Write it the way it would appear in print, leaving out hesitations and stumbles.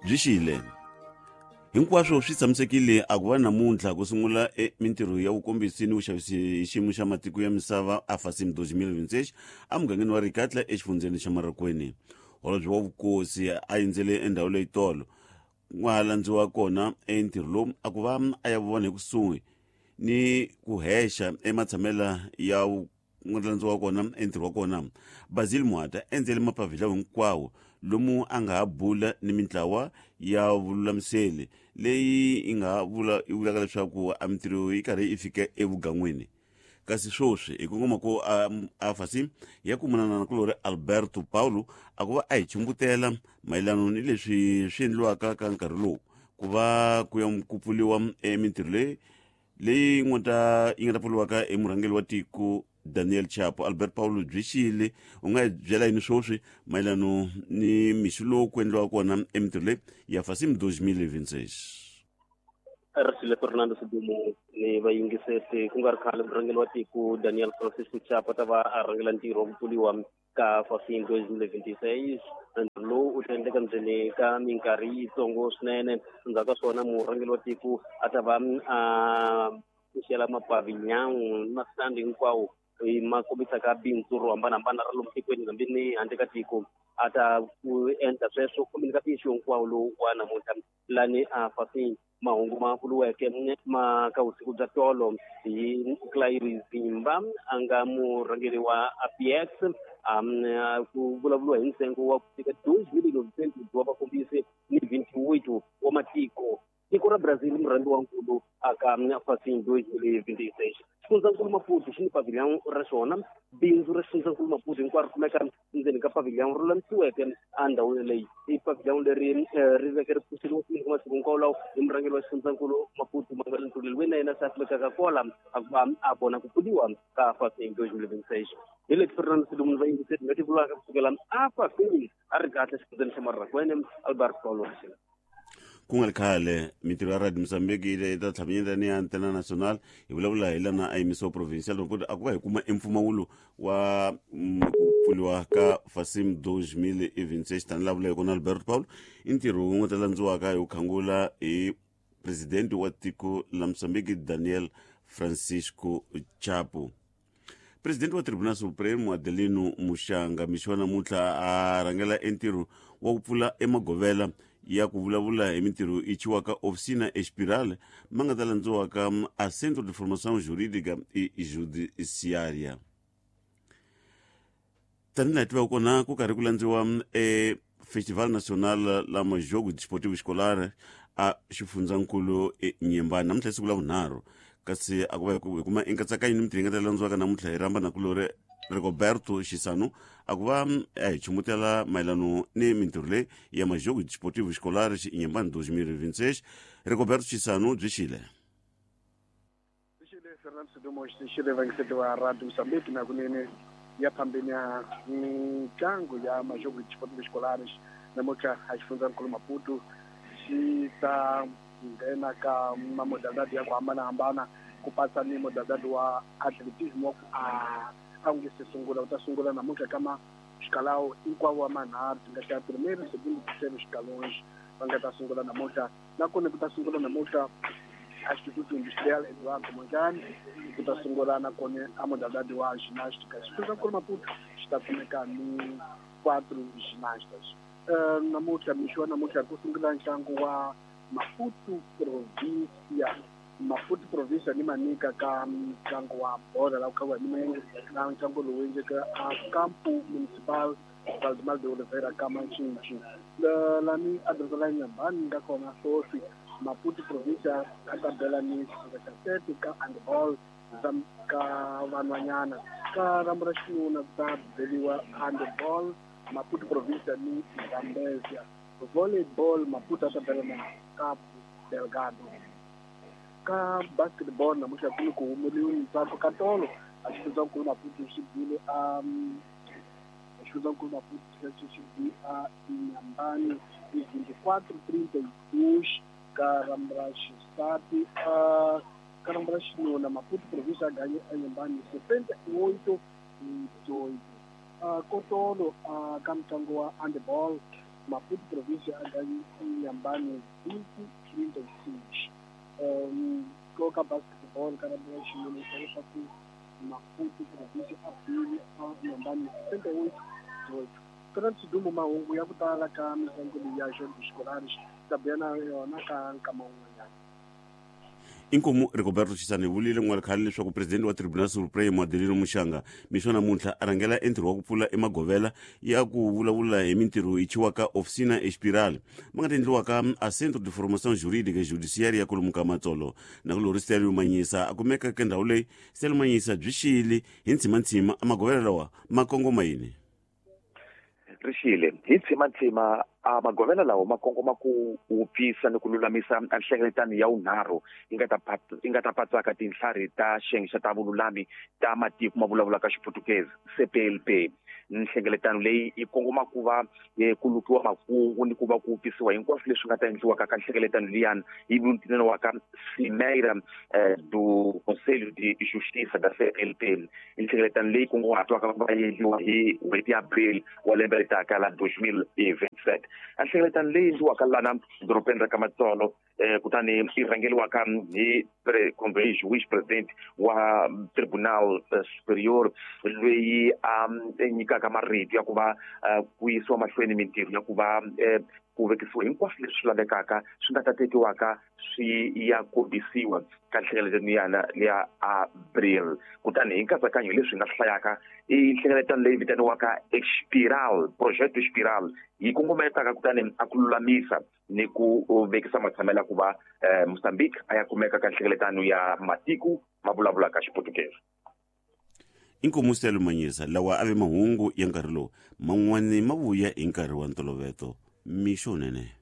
Byi xile. Hinkwaswo swi tshamisekile a ku va namuntlha ku sungula e mintirho ya vukombisi ni vuxavisi hi xiyimo xa matiko ya misava a Fasim 2026 emugangeni wa Rikatla exifundzheni xa Marokweni. Holobye wa vukosi a endzele endhawu leyi tolo ku nga ha landziwa kona entirho lowu a ku va a ya vona hi kusuhi ni ku hexa ematshamela ya ku nga landziwa kona entirho wa kona. Basil Muhata endzele mapavhila hinkwawo lomu a nga ha bula ni mintlawa ya vululamiseli leyi yi nga vula yi vulaka leswaku a mintirho yi karhi yi fika evugan'wini. Kasi swoswi hi kongoma ku a fasi ya kumunana na kulori Alberto Paulo a ku va a hi chumbutela mayelano ni leswi swi endliwaka ka nkarhi lowu ku va ku ya ku pfuriwa emintirho leyi leyi nga ta yi nga ta pfuriwaka hi murhangeri wa tiko Daniel Chapo. Albert Paulo byi xile u nga hi byela yini swoswi mayelano ni mixo lowu ku endliwaka kona emintirho leyi ya Fasim 2026? Rixile Fernando Sidumo ni vayingiseri ku nga ri khale murhangeri wa tiko Daniel Francisco Chapo ta va a rhangela ntirho wa ku pfuriwa ka Fasim 2026. Ntirho lowu u ta endleka ndzeni ka minkarhi yitsongo swinene. Endzhaku ka swona murhangeri wa tiko a ta va a pfuxela mapavinyawu ni masitandi hinkwawo ma kombisaka bindzu ro hambanahambana ra lomu tikweni hambi ni handle ka tiko. A ta ku endla sweswo khomeni ka mixo hinkwawo lowu wa namuntlha lani a Fasim. Mahungu ma vuriweke ma ka vusiku bya tolo hi Claire Zimba a nga murhangeri wa APX ku vulavuriwa hi ntsengo wa ku fika 2,900 wa vakombisi ni 28 wa matiko. Tiko ra Brazil murhangi wa nkulu aka Fasim 2026. Xifundzankulu Maputo xi ni pavilion ra xona. Bindzu ra xifundzankulu Maputo hinkwaro ri kumeka ndzeni ka pavilion ro lulamisiweke endhawini leyi. I pavilion leri ri veke ri pfuxeriwa swinene ka masiku hinkwawo lawa hi murhangeri wa xifundzankulu Maputo Manuel Ntuli loyi na yena se a kumekaka kwala a ku va a vona ku pfuriwa ka Fasim 2026. Hi leti Fernando Silumu ni vayingiseri nga ti vulaka kusukela a Fasim a ri kahle xifundzeni xa Marrakwene Albert Paulo Rixile. Ku nga ri khale mintirho ya Radio Mozambique yi ta tlhamanyeta ni ya Antena Nacional hi vulavula hi lana a yimisiwa provincial report a ku va hi kuma empfumawulo wa ku pfuriwa ka Fasim 2026 tanihi laha vuleke kona Alberto Paulo i ntirho wu nga ta landziwaka hi ku khangula hi presidente wa tiko la Mozambique Daniel Francisco Chapo. Presidente wa Tribunal Supremo Adelino Muxanga mixo wa namuntlha a rhangela entirho wa ku pfula emagovela ya ku vulavula hi mintirho yi chiwaka Oficina Espiral ma nga ta landziwaka a Centro de Formação Jurídica e Judiciária. Tanihi laha tivaka kona ku karhi ku landziwa e Festival Nacional la Majogo Desportivo Escolar a xifundzankulu eNyembani namuntlha siku la vunharhu kasi a ku va hi kuma enkatsakanyo ni mintirho yi nga ta landziwaka namuntlha hi rhamba nakulori Rigoberto Xisano a ku va a hi chumutela mayelano ni mintirho leyi ya Majogo Desportivo Escolar Inhambane 2026. Rigoberto Xisano byi xile. Xile Fernando Sidumo xi le wa Radio Mozambique na kunene ya phambeni ya mitlangu ya Majogo Desportivo Escolares namuntlha a xifundzankulu Maputo xi ta nghena ka mamodalidadi ya ku hambanahambana ku patsa ni modalidadi wa atletism wa ku a wu nge se sungula wu ta sungula namuntlha ka maxikalawo hinkwawo wa manharhu ti nga hlaya primeiro, segundo, terceiro escalões va nga ta sungula namuntlha nakona ku ta sungula namuntlha a Instituto Industrial Eduardo Mondlane ku ta sungula nakona a modalidadi wa ginástica xifundzankulu Maputo xi ta kumeka ni quatro ginastas. Namuntlha mixo wa namuntlha ku sungula ntlangu wa Maputo Provincia Maputo Provincia ni Manica ka ntlangu wa bolo la ku khaviwa hi milenge na ntlangu lowu endleke a Campo Municipal Valdemar de Oliveira ka Mancinci lani a doroba la Inhambane nga kona swoswi Maputo Provincia a ta bela ni xifundza xa Tete ka handball ka vanhwanyana ka rambo ra xinuna ku ta beliwa handball Maputo Provincia ni Zambezia volleyball Maputo a ta bela na Cabo Delgado ka basketball namuntlha ku ni ku humeliwe ntsako ka tolo a xifundzankulu Maputo xi bile a xifundzankulu Maputo xi bile a Inhambane hi 24-32 ka rambo ra xisati a ka rambo ra xinuna Maputo Provincia a ganye Inhambane 68-8 kotolo ka mutlangu wa handball. Maputo província a Inhambane 20-36. Ko ka basketball ka rugby ya xinuna leswaku Maputo província a bile a Inhambane 78-18. Fernando Sidumo, mahungu ya ku tala ka mitlangu leyi ya Jogos Escolares ta buya na yona ka nkama wun'wanyana. Inkomu Rigoberto Chisane vulile n'wana khale leswaku presidente wa Tribunal Supremo Adelino Muxanga mixo namuntlha a rhangela entirho wa ku pfula emagovela ya ku vulavula hi mintirho yi chiwaka Oficina Espiral ma nga ta endliwaka a Centro de Formação Jurídica e Judiciária ya kwalomu ka Matsolo. Na ku lori Stelio Manyisa a kumeka ka ndhawu leyi. Stelio Manyisa, byi xile hi ntsimantsima a magovela lawa ma kongoma yini? Rixile hi ntsimantsima, a magovela lawa ma kongoma ku wupfisa ni ku lulamisa nhlengeletano ya vunharhu yi nga ta patsaka tintlhari ta xiyenge xa ta vululami ta matiko ma vulavulaka Xiputukezi, CPLP. Nhlengeletano leyi yi kongoma ku va ku lukiwa makungu ni ku va ku wupfisiwa hinkwaswo leswi nga ta endliwaka ka nhlengeletano liyani yi vitaniwaka Cimeira do Conselho de Justiça da CPLP. Nhlengeletano leyi kunguhatiwaka ku va yi endliwa hi n'hweti ya April wa lembe ri taka la 2027. A nhlengeletano leyi endliwaka lana dorobeni ra ka Matsolo, kutani yi rhangeriwaka hi kumbe hi juiz president wa Tribunal Superior, loyi a nyikaka marito ya ku va ku yisiwa mahlweni mintirho ya ku va ku vekisiwa hinkwaswo leswi lavekaka swi nga ta tekiwaka swi ya kombisiwa ka nhlengeletano yana ya April. Kutani hi nkatsakanyo leswi hi nga swi hlayaka i nhlengeletano leyi vitaniwaka Espiral, Projeto Espiral, yi kongometaka kutani a ku lulamisa ni ku vekisa matshamelo ya ku va Mozambique a ya kumeka ka nhlengeletano ya matiko ma vulavulaka Xiputukezi. Inkomu Stelio Manyisa, lawa a ve mahungu ya nkarhi lowu. Man'wani ma vuya hi nkarhi wa ntoloveto. Mixo nene.